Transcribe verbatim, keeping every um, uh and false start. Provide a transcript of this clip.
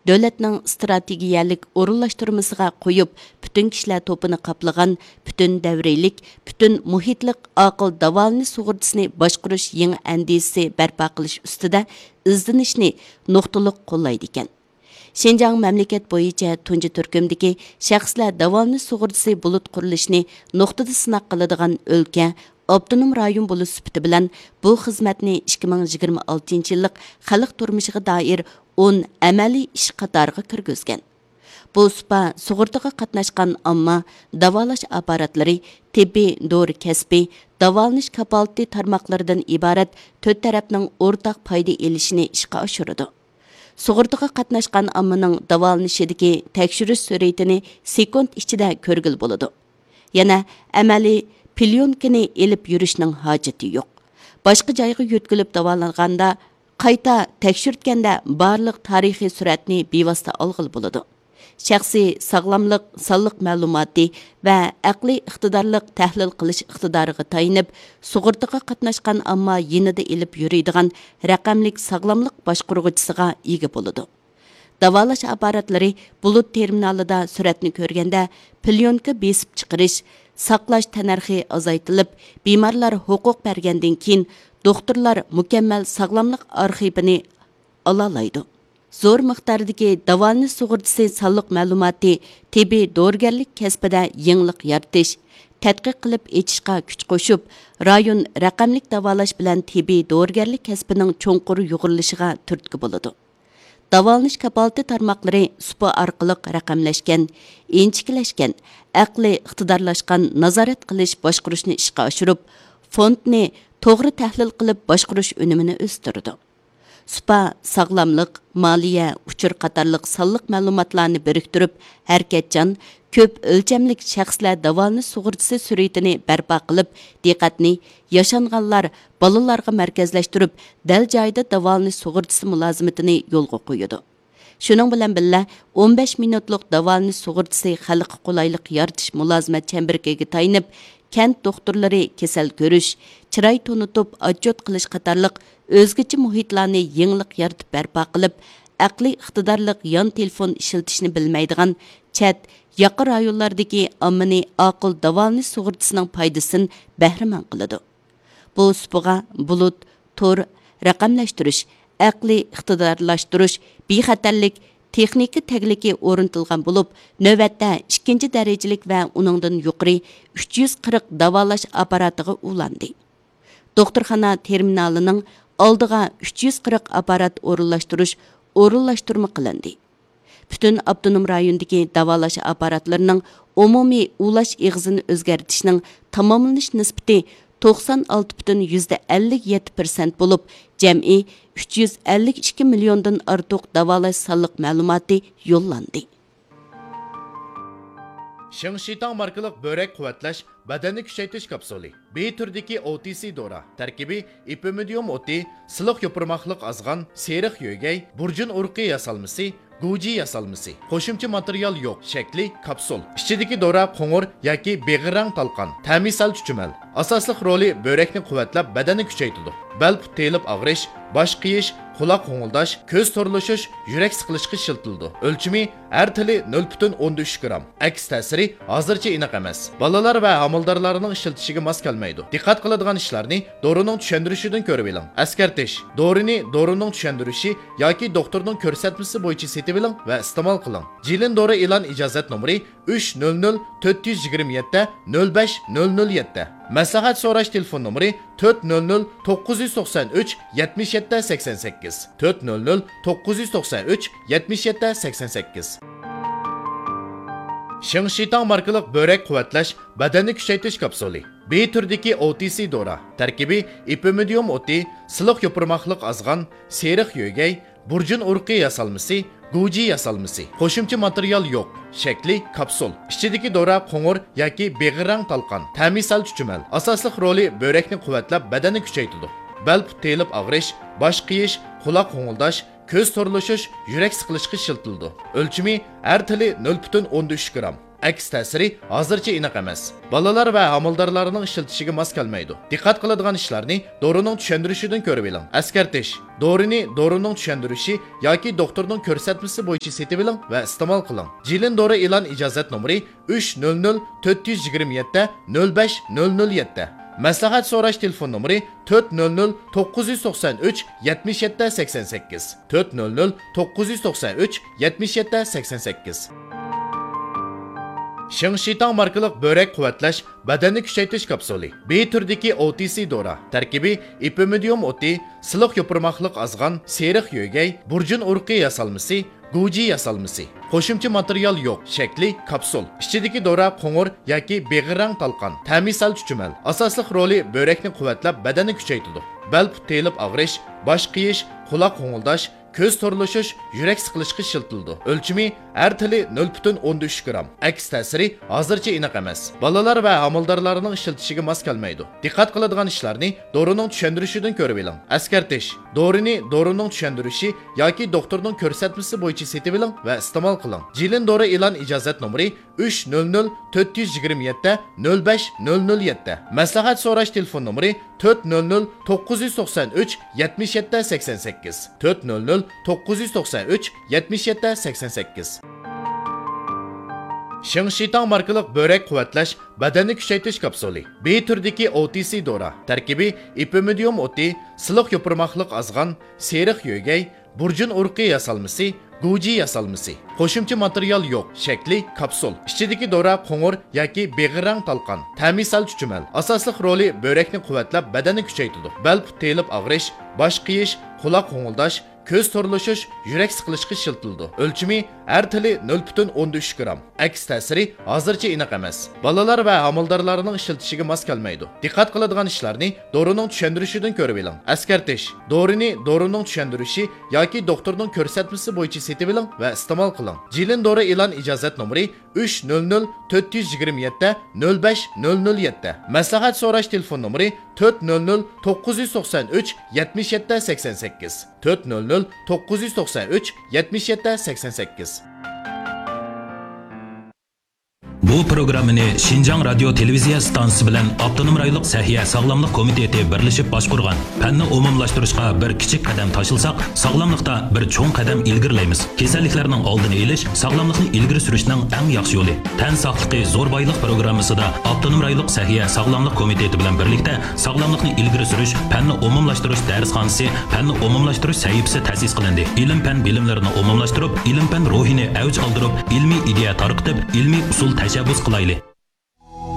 دۆلەتنىڭ ئىستراتېگىيەلىك ئورۇنلاشتۇرمىسىغا قويۇپ، پۈتۈن كىشىلەر توپىنى قاپلىغان پۈتۈن دەۋرىيلىك، پۈتۈن مۇھىتلىق ئاقىل داۋالىنىش سۇغۇرتىسىنى باشقۇرۇش يېڭى ئەندىزىسى بەرپا قىلىش ئۈستىدە ئىزدىنىشنى نۇقتىلىق قوللايدىكەن. شىنجاڭ مەملىكەت بويىچە تۇنجى تۈركۈمدىكى شەخسلەر داۋالىنىش سۇغۇرتىسى بۇلۇت قۇرۇلۇشىنى نۇقتىدا سىناق قىلىدىغان ئۆلكە، ئاپتونوم رايون بولۇش سۈپىتى بىلەن بۇ خىزمەتنى ئىككى مىڭ يىگىرمە ئالتىنچى يىللىق خەلق تۇرمۇشىغا دائىر ئون ئەمەلىي ئىش قاتارىغا كىرگۈزگەن. بۇ سۇپا سۇغۇرتىغا قاتناشقان ئامما، داۋالاش ئاپپاراتلىرى، تېببىي دورا كەسپى، داۋالىنىش كاپالىتى تارماقلىرىدىن ئىبارەت تۆت تەرەپنىڭ ئورتاق پايدا ئېلىشىنى ئىشقا ئاشۇرىدۇ. سۇغۇرتىغا قاتناشقان ئاممىنىڭ داۋالىنىشىدىكى تەكشۈرۈش سۈرئىتىنى سېكۇنت ئىچىدە كۆرگىلى بولىدۇ. يەنە ئەمەلىي پليونكىنى ئېلىپ يۈرۈشنىڭ ھاجىتى يوق. باشقا جايغا يۆتكىلىپ داۋالانغاندا، قايتا تەكشۈرتكەندە بارلىق تارىخىي سۈرەتنى بىۋاسىتە ئالغىلى بولىدۇ. شەخسىي ساغلاملىق سانلىق مەلۇماتى ۋە ئەقلىي ئىقتىدارلىق تەھلىل قىلىش ئىقتىدارىغا تايىنىپ، سۇغۇرتىغا قاتناشقان ئامما يېنىدا ئېلىپ يۈرىدىغان رەقەملىك ساغلاملىق باشقۇرغۇچىسىغا ئىگە بولىدۇ. داۋالاش ئاپپاراتلىرى بۇلۇت تېرمىنالىدا سۈرەتنى كۆرگەندە، پليونكا بېسىپ چىقىرىش، ساقلاش تەننەرخى ئازايتىلىپ، بىمارلار ھوقۇق بەرگەندىن كېيىن، دوختۇرلار مۇكەممەل ساغلاملىق ئارخىپىنى ئالالايدۇ. زور مىقداردىكى داۋالىنىش سۇغۇرتىسى سانلىق مەلۇماتى تېببىي دورىگەرلىك كەسپىدە يېڭىلىق يارىتىش، تەتقىق قىلىپ ئېچىشقا كۈچ قوشۇپ، رايون رەقەملىك داۋالاش بىلەن تېببىي دورىگەرلىك كەسپىنىڭ چوڭقۇر يۇغۇرۇلۇشىغا تۈرتكە بولىدۇ. داۋالىنىش كاپالىتى تارماقلىرى سۇپا ئارقىلىق رەقەملەشكەن، ئىنچىكىلەشكەن، ئەقلىي ئىقتىدارلاشقان نازارەت قىلىش باشقۇرۇشنى ئىشقا ئاشۇرۇپ، فوندنى توغرا تەھلىل قىلىپ باشقۇرۇش ئۈنۈمىنى ئۆستۈرىدۇ. سۇپا ساغلاملىق، مالىيە، ئۇچۇر قاتارلىق سانلىق مەلۇماتلارنى بىرىكتۈرۈپ، ھەرىكەتچان، كۆپ ئۆلچەملىك شەخسلەر داۋالىنىش سۇغۇرتىسى سۈرئىتىنى بەرپا قىلىپ، دىققەتنى ياشانغانلار، بالىلارغا مەركەزلەشتۈرۈپ، دەل جايىدا داۋالىنىش سۇغۇرتىسى مۇلازىمىتىنى يولغا قويىدۇ. شۇنىڭ بىلەن بىللە، ئون بەش مىنۇتلۇق داۋالىنىش سۇغۇرتىسى خەلققە قولايلىق يارىتىش مۇلازىمەت چەمبىرىكىگە تايىنىپ، كەنت دوختۇرلىرى كېسەل كۆرۈش، چىراي تونۇتۇپ ئاتچوت قىلىش قاتارلىق ئۆزگىچە مۇھىتلارنى يېڭىلىق يارىتىپ بەرپا قىلىپ، ئەقلىي ئىقتىدارلىق يان تېلېفون ئىشلىتىشنى بىلمەيدىغان چەت، ياقا رايونلاردىكى ئاممىنى ئاقىل داۋالىنىش سۇغۇرتىسىنىڭ پايدىسىدىن بەھرىمەن قىلىدۇ. بۇ سۇپىغا بۇلۇت، تور، رەقەملەشتۈرۈش، ئەقلىي ئىقتىدارلاشتۇرۇش، بىخەتەرلىك، تېخنىكا تەگلىكى ئورنىتىلغان بولۇپ، نۆۋەتتە ئىككىنچى دەرىجىلىك ۋە ئۇنىڭدىن يۇقىرى ئۈچ يۈز قىرىق داۋالاش ئاپپاراتىغا ئۇلاندى. دوختۇرخانا تېرمىنالىنىڭ ئالدىغا ئۈچ يۈز قىرىق ئاپپارات ئورۇنلاشتۇرۇش ئورۇنلاشتۇرما قىلىندى. پۈتۈن ئاپتونوم رايوندىكى داۋالاش ئاپپاراتلىرىنىڭ ئومۇمىي ئۇلاش ئېغىزىنى ئۆزگەرتىشنىڭ تاماملىنىش نىسبىتى توقسان ئالتە پۈتۈن يۈزدە ئەللىك يەتتە پىرسەنت بولۇپ، جەمئىي ئۈچ يۈز ئەللىك ئىككى مىليوندىن ئارتۇق داۋالاش سانلىق مەلۇماتى يوللاندى. شىڭشىتاڭ ماركىلىق بۆرەك قۇۋۋەتلەش بەدەننى كۈچەيتىش كاپسۇلى. بى تۈرىدىكى ئو تى سى دورا. تەركىبى ئېپىمىدىيۇم ئوتى، سىلىق يوپۇرماقلىق ئازغان، سېرىق يۆگەي، بۇرجۇن ئۇرۇقى ياسالمىسى، گۇجى ياسالمىسى. قوشۇمچە ماتېرىيال يوق. شەكلى كاپسۇل. ئىچىدىكى دورا قوڭۇر ياكى بېغىر رەڭ تالقان. تەمى سەل چۈچۈمەل. ئاساسلىق رولى بۆرەكنى قۇۋۋەتلەپ، بەدەننى كۈچەيتىدۇ. بەل پۇت تېيىلىپ ئاغرىش، باش قېيىش، قۇلاق غوڭۇلداش، كۆز تورلىشىش، يۈرەك سىقىلىشقا ئىشلىتىلىدۇ. ئۆلچىمى ھەر تىلى نۆل پۈتۈن ئوندىن ئۈچ گرام. ئەكس تەسىرى ھازىرچە ئېنىق ئەمەس. بالىلار ۋە ھامىلىدارلارنىڭ ئىشلىتىشىگە ماس كەلمەيدۇ. دىققەت قىلىدىغان ئىشلارنى دورىنىڭ چۈشەندۈرۈشىدىن كۆرۈۋېلىڭ. ئەسكەرتىش: دورىنى دورىنىڭ چۈشەندۈرۈشى ياكى دوختۇرنىڭ كۆرسەتمىسى بويىچە سېتىۋېلىڭ ۋە ئىستېمال قىلىڭ. جىلىن دورا ئېلان ئىجازەت نومۇرى ئۈچ نۆل نۆل تۆت يۈز يىگىرمە يەتتە نۆل بەش نۆل نۆل يەتتە. مەسلىھەت سوراش تېلېفون نومۇرى تۆت نۆل نۆل توققۇز يۈز توقسان ئۈچ يەتمىش يەتتە سەكسەن سەككىز، تۆت نۆل نۆل توققۇز يۈز توقسان ئۈچ يەتمىش يەتتە سەكسەن سەككىز. شىڭشىتاڭ ماركىلىق بۆرەك قۇۋۋەتلەش بەدەننى كۈچەيتىش كاپسۇلى. بى تۈرىدىكى ئو تى سى دورا. تەركىبى ئېپىمىدىيۇم ئوتى، سىلىق يوپۇرماقلىق ئازغان، سېرىق يۆگەي، بۇرجۇن ئۇرۇقى ياسالمىسى، گۇجى ياسالمىسى. قوشۇمچە ماتېرىيال يوق. شەكلى كاپسۇل. ئىچىدىكى دورا قوڭۇر ياكى بېغىر رەڭ تالقان. تەمى سەل چۈچۈمەل. ئاساسلىق رولى بۆرەكنى قۇۋۋەتلەپ، بەدەننى كۈچەيتىدۇ. بەل پۇت تېيىلىپ ئاغرىش، باش قېيىش، قۇلاق غوڭۇلداش، كۆز تورلىشىش، يۈرەك سىقىلىشقا ئىشلىتىلىدۇ. ئۆلچىمى ھەر تىلى نۆل پۈتۈن ئوندىن ئۈچ گرام. ئەكس تەسىرى ھازىرچە ئېنىق ئەمەس. بالىلار ۋە ھامىلىدارلارنىڭ ئىشلىتىشىگە ماس كەلمەيدۇ. دىققەت قىلىدىغان ئىشلارنى دورىنىڭ چۈشەندۈرۈشىدىن كۆرۈۋېلىڭ. ئەسكەرتىش: دورىنى دورىنىڭ چۈشەندۈرۈشى ياكى دوختۇرنىڭ كۆرسەتمىسى بويىچە سېتىۋېلىڭ ۋە ئىستېمال قىلىڭ. جىلىن دورا ئېلان ئىجازەت نومۇرى ئۈچ نۆل نۆل تۆت يۈز يىگىرمە يەتتە نۆل بەش نۆل نۆل يەتتە. مەسلىھەت سوراش تېلېفون نومۇرى تۆت نۆل نۆل توققۇز يۈز توقسان ئۈچ يەتمىش يەتتە سەكسەن سەككىز، تۆت نۆل نۆل توققۇز يۈز توقسان ئۈچ يەتمىش يەتتە سەكسەن سەككىز. شىڭشىتاڭ ماركىلىق بۆرەك قۇۋۋەتلەش، بەدەننى كۈچەيتىش كاپسۇلى. بى تۈرىدىكى ئو تى سى دورا. تەركىبى: ئېپىمىدىيۇم ئوتى، سىلىق يوپۇرماقلىق ئازغان، سېرىق يۆگەي، بۇرجۇن ئۇرۇقى ياسالمىسى، گۇجى ياسالمىسى. قوشۇمچە ماتېرىيال يوق. شەكلى: كاپسۇل. ئىچىدىكى دورا قوڭۇر ياكى بېغىر رەڭ تالقان. تەمى سەل چۈچۈمەل. ئاساسلىق رولى: بۆرەكنى قۇۋۋەتلەپ، بەدەننى كۈچەيتىدۇ. بەل پۇت تېيىلىپ ئاغرىش، باش قېيىش، قۇلاق غوڭۇلداش، كۆز تورلىشىش، يۈرەك سىقىلىشقا ئىشلىتىلىدۇ. ئۆلچىمى: ھەر تىلى نۆل پۈتۈن ئوندىن ئۈچ گرام. ئەكس تەسىرى ھازىرچە ئېنىق ئەمەس. بالىلار ۋە ھامىلىدارلارنىڭ ئىشلىتىشىگە ماس كەلمەيدۇ. دىققەت قىلىدىغان ئىشلارنى دورىنىڭ چۈشەندۈرۈشىدىن كۆرۈۋېلىڭ. ئەسكەرتىش: دورىنى دورىنىڭ چۈشەندۈرۈشى ياكى دوختۇرنىڭ كۆرسەتمىسى بويىچە سېتىۋېلىڭ ۋە ئىستېمال قىلىڭ. جىلىن دورا ئېلان ئىجازەت نومۇرى ئۈچ نۆل نۆل تۆت يۈز يىگىرمە يەتتە نۆل بەش نۆل نۆل يەتتە. مەسلىھەت سوراش تېلېفون نومۇرى تۆت نۆل نۆل توققۇز يۈز توقسان ئۈچ يەتمىش يەتتە سەكسەن سەككىز، تۆت نۆل نۆل توققۇز يۈز توقسان ئۈچ يەتمىش يەتتە سەكسەن سەككىز. شىڭشىتاڭ ماركىلىق بۆرەك قۇۋۋەتلەش، بەدەننى كۈچەيتىش كاپسۇلى. بى تۈرىدىكى ئو تى سى دورا. تەركىبى: ئېپىمىدىيۇم ئوتى، سىلىق يوپۇرماقلىق ئازغان، سېرىق يۆگەي، بۇرجۇن ئۇرۇقى ياسالمىسى، گۇجى ياسالمىسى. قوشۇمچە ماتېرىيال يوق. شەكلى: كاپسۇل. ئىچىدىكى دورا قوڭۇر ياكى بېغىر رەڭ تالقان. تەمى سەل چۈچۈمەل. ئاساسلىق رولى: بۆرەكنى قۇۋۋەتلەپ، بەدەننى كۈچەيتىدۇ. بەل پۇت تېيىلىپ ئاغرىش، باش قېيىش، قۇلاق غوڭۇلداش، كۆز تورلىشىش، يۈرەك سىقىلىشقا ئىشلىتىلىدۇ. ئۆلچىمى: ھەر تىلى نۆل پۈتۈن ئوندىن ئۈچ گرام. ئەكس تەسىرى ھازىرچە ئېنىق ئەمەس. بالىلار ۋە ھامىلىدارلارنىڭ ئىشلىتىشىگە ماس كەلمەيدۇ. دىققەت قىلىدىغان ئىشلارنى دورىنىڭ چۈشەندۈرۈشىدىن كۆرۈۋېلىڭ. ئەسكەرتىش: دورىنى دورىنىڭ چۈشەندۈرۈشى ياكى دوختۇرنىڭ كۆرسەتمىسى بويىچە سېتىۋېلىڭ ۋە ئىستېمال قىلىڭ. جىلىن دورا ئېلان ئىجازەت نومۇرى ئۈچ نۆل نۆل تۆت يۈز يىگىرمە يەتتە نۆل بەش نۆل نۆل يەتتە. مەسلىھەت سوراش تېلېفون نومۇرى تۆت نۆل نۆل توققۇز يۈز توقسان ئۈچ يەتمىش يەتتە سەكسەن سەككىز، تۆت نۆل نۆل توققۇز يۈز توقسان ئۈچ يەتمىش يەتتە سەكسەن سەككىز. بۇ پروگراممىنى شىنجاڭ رادىيو تېلېۋىزىيە ئىستانسىسى بىلەن ئاپتونوم رايونلۇق سەھىيە ساغلاملىق كومىتېتى بىرلىشىپ باشقۇرغان. پەننى ئومۇملاشتۇرۇشقا بىر كىچىك قەدەم تاشلىساق، ساغلاملىقتا بىر چوڭ قەدەم ئىلگىرىلەيمىز. كېسەللىكلەرنىڭ ئالدىنى ئېلىش ساغلاملىقنى ئىلگىرى سۈرۈشنىڭ ئەڭ ياخشى يولى. تەن ساقلىقى زور بايلىق پروگراممىسىدا ئاپتونوم رايونلۇق سەھىيە ساغلاملىق كومىتېتى بىلەن بىرلىكتە ساغلاملىقنى ئىلگىرى سۈرۈش، پەننى ئومۇملاشتۇرۇش دەرسخانىسى، پەننى ئومۇملاشتۇرۇش سەھىپىسى تەسىس قىلىندى. ئىلىم-پەن بىلىملىرىنى ئومۇملاشتۇرۇپ، ئىلىم-پەن روھىنى ئەۋج ئالدۇرۇپ، ئىلمىي ئىدىيە تارقىتىپ، ئىلمىي ئۇسۇل تەشەببۇس قىلايلى.